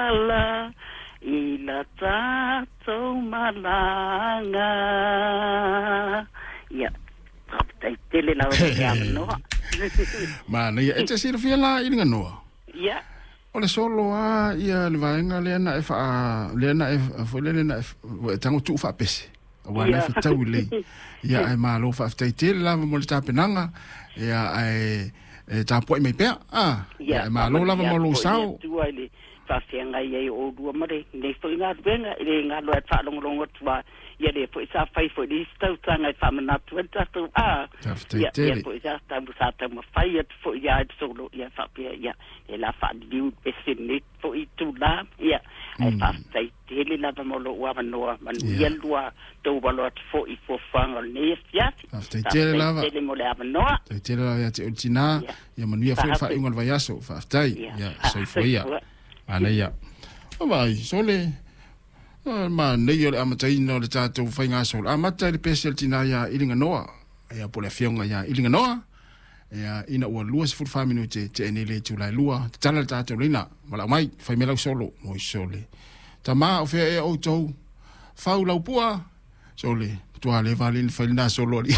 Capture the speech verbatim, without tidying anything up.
ala i la tatou malaga. Ia, faafetai tele lava mo le avanoa. Manaia, e te silafia la i Liganoa? Ia. O le solo lava ia le vaega lea na e faa lea na e foi lele na e ua e tago tuu faapese aua na e fetau lelei. Ia ae malo faafetai tele lava mo le tapenaga ia ae e tapuai mai pea. Ah, ia Ia, ae malo lava faamanuia mo atu lou foi le sao. Atua i le faafeagai ai o oulua ma lenei foi galuega e le galo ai le faalogologo atu a ia lea foi sa fai foi le isi tautaga e faamanatu ai le tatou a Faafetai ia lea tele. foi sa tau sa taumafai atu foi ia le solo ia faapea ia e la faaliliu le pese lenei foi itulā ia ae faafetai tele lava mo lou avanoa manuia Ia. le lua tou alo atu foi i fuafuaga o lenei afiafi. Faafetai tele Faafetai lava. tele mo le avanoa. Faafetai tele lava ia te oe le tinā. Ia. Ia manuia foi le Faafetai. faaiuga o le vaiaso. Faafetai. Ia. Ia, soifua ia. Soifua. Manaia. O vai, sole, manaia o le amataina o le tatou faigasolo. Amata i le pese a le tinā iā Iliganoa. Ia po o le afioga iā Iliganoa. Ia ina ua lua sefulu fa minute tea nei le itula e lua. Tatala le tatou leina. Valaau mai, fai mai lau solo. Moi sole. Tamā o fea ea outou. Fau lau pua. Sole, matua leva alii ona fai lena solo alii.